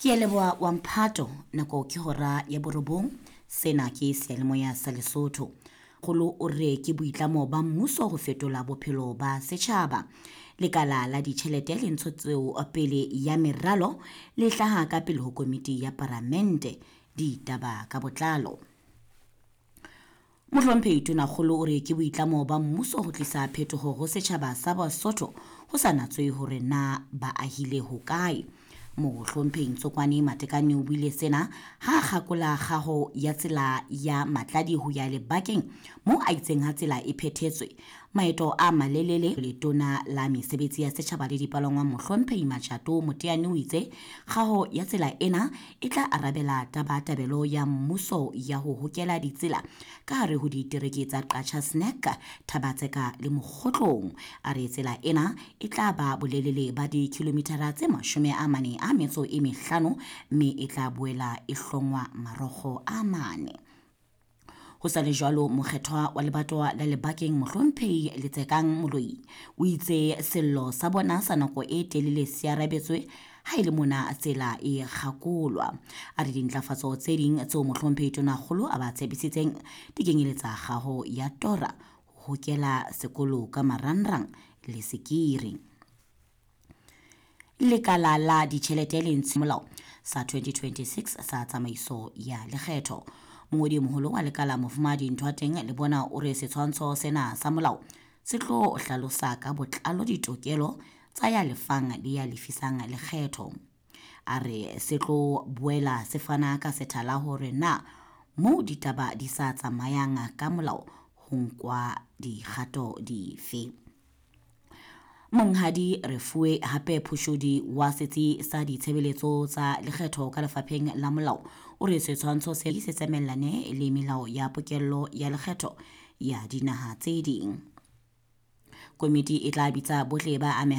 Ke a leboha wa mphato, nako ke hora ya borobong. Sena ke seyalemoya sa Lesotho. Kgolo o re ke boitlamo ba mmuso ho fetola bophelo ba setjhaba. Lekala la ditjhelete le ntshetseo pele ya meralo le hlaha ka pele ho komiti ya paramente. Ditaba ka botlalo. Mohlomphehi Tonakgolo o re ke boitlamo ba mmuso ho tlisa phetoho ho setjhaba sa Basotho ho sa natswe hore na ba ahile hokae. Mohlomphehi Ntsokwane Matekane o buile sena ha a kgakola kgaho ya tsela ya Matladi ho ya Lebakeng moo a itseng ha tsela e phethetswe maeto a malelele. Letona la mesebetsi ya setjhaba le dipalangwang Mohlomphehi Matjato Moteane o itse kgaho ya tsela ena e tla arabela tabatabelo ya mmuso ya ho hokela ditsela ka hare ho ditereke tsa Qacha's Nek, Thaba-Tseka le Mokgotlong. A re tsela ena e tla ba bolelele ba dikilomithara tse 45 mme e tla boela e hlongwa marokgo a mane. Ho sa le jwalo, mokgethwa wa lebatowa la Lebakeng Mohlomphehi Letsekang Moloi o itse sello sa bona sa nako e telele se arabetswe ha e le mona tsela e kgakolwa. A re dintlafatso tse ding tseo Mohlomphehi Tonakgolo a ba tshepisitseng di kenyeletsa kgaho ya tora, ho hokela sekolo ka marangrang le sekiri. Lekala la ditjhelete le ntshe molao sa 2026 sa tsamaiso ya lekgetho. Mongodi moholo wa lekala Mofumahadi Nthoateng le bona o re setshwantsho sena sa molao se tlo hlalosa ka botlalo ditokelo tsa ya lefang le ya lefisang lekgetho. A re se tlo boela se fana ka sethala hore na moo ditaba di sa tsamayang ka molao ho nkwa dikgato dife. Monghadi Refuwe hape Phushudi wa setsi sa ditshebeletso tsa lekgetho ka lefapheng la molao o re setshwantsho se se tsamaellane le melao ya pokello ya lekgetho ya dinaha tse ding. Komiti e tla bitsa bohle ba amehang.